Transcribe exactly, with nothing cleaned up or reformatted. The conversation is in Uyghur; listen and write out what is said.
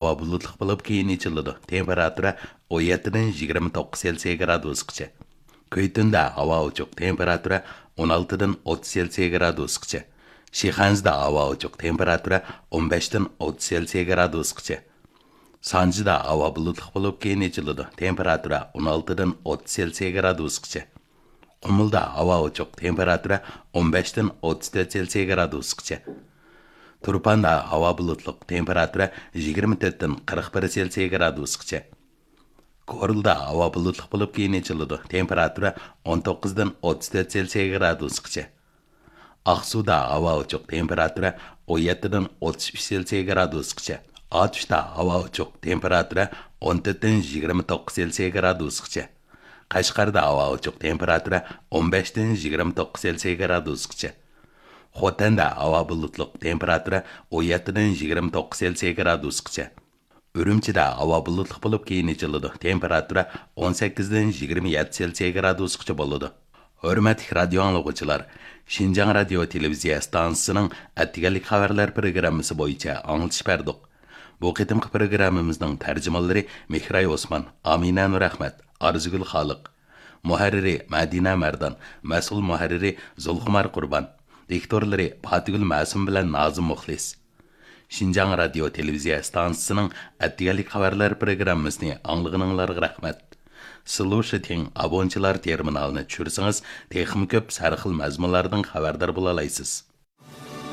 ھاۋا بۇلۇتلۇق بولۇپ، كېيىن ئېچىلىدۇ. تېمپېراتۇرا ئون يەتتىدىن يىگىرمە توققۇز سېلسىيە گرادۇسقىچە. كۈيتۈندە ھاۋا ئوچۇق، تېمپېراتۇرا ئون ئالتىدىن ئوتتۇز سېلسىيە گرادۇسقىچە. شىخەنزىدە ھاۋا ئوچۇق، تېمپېراتۇرا ئون بەشتىن ئوتتۇز سېلسىيە گرادۇسقىچە. سانجىدا ھاۋا بۇلۇتلۇق بولۇپ، كېيىن ئېچىلىدۇ. تېمپېراتۇرا ئون ئالتىدىن ئوتتۇز سېلسىيە گرادۇسقىچە. قۇمۇلدا ھاۋا ئوچۇق، تېمپېراتۇرا ئون بەشتىن ئوتتۇز تۆت سېلسىيە گرادۇسقىچە. تۇرپاندا ھاۋا بۇلۇتلۇق، تېمپېراتۇرا يىگىرمە تۆتتىن قىرىق بىر سېلسىيە گرادۇسقىچە. كورلىدا ھاۋا بۇلۇتلۇق بولۇپ، كېيىن ئېچىلىدۇ. تېمپېراتۇرا ئون توققۇزدىن ئوتتۇز تۆت سېلسىيە گرادۇسقىچە. ئاقسۇدا ھاۋا ئوچۇق، تېمپېراتۇرا ئون يەتتىدىن ئوتتۇز ئۈچ سېلسىيە گرادۇسقىچە. ئاتۇشتا ھاۋا ئوچۇق، تېمپېراتۇرا ئون تۆتتىن يىگىرمە توققۇز سېلسىيە گرادۇسقىچە. قەشقەردە ھاۋا ئوچۇق، تېمپېراتۇرا ئون بەشتىن يىگىرمە توققۇز سېلسىيە گرادۇسقىچە. خوتەندە ھاۋا بۇلۇتلۇق، تېمپېراتۇرا ئون يەتتىدىن يىگىرمە توققۇز سېلسىيە گرادۇسقىچە. ئۈرۈمچىدە ھاۋا بۇلۇتلۇق بولۇپ، كېيىن ئېچىلىدۇ. تېمپېراتۇرا ئون سەككىزدىن يىگىرمە يەتتە سېلسىيە گرادۇسقىچە بولىدۇ. ھۆرمەتلىك رادىيو ئاڭلىغۇچىلار، شىنجاڭ رادىيو تېلېۋىزىيە ئىستانسىسىنىڭ ئەتىگەنلىك خەۋەرلەر پروگراممىسى بويىچە ئاڭلىتىش بەردۇق. بۇ قېتىمقى پروگراممىمىزنىڭ تەرجىمانلىرى مېھراي ئوسمان، ئامىنە نۇرئەخمەت، ئارزۇگۈل خالىق. مۇھەررىرى مەدىنە مەردان، مەسئۇل مۇھەررىرى زۇلخۇمار قۇربان، دىكتورلىرى پاتىگۈل مەسۇم بىلەن نازىم مۇخلىس. شىنجاڭ رادىيو تېلېۋىزىيە ئىستانسىسىنىڭ ئەتىگەنلىك خەۋەرلەر پروگراممىسىنى ئاڭلىغىنىڭلارغا رەھمەت. سلۇشىتىڭ ئابونچىلار تېرمىنالىنى چۈشۈرسىڭىز، تېخىمۇ كۆپ سەرخىل مەزمۇنلاردىن خەۋەردار بولالايسىز.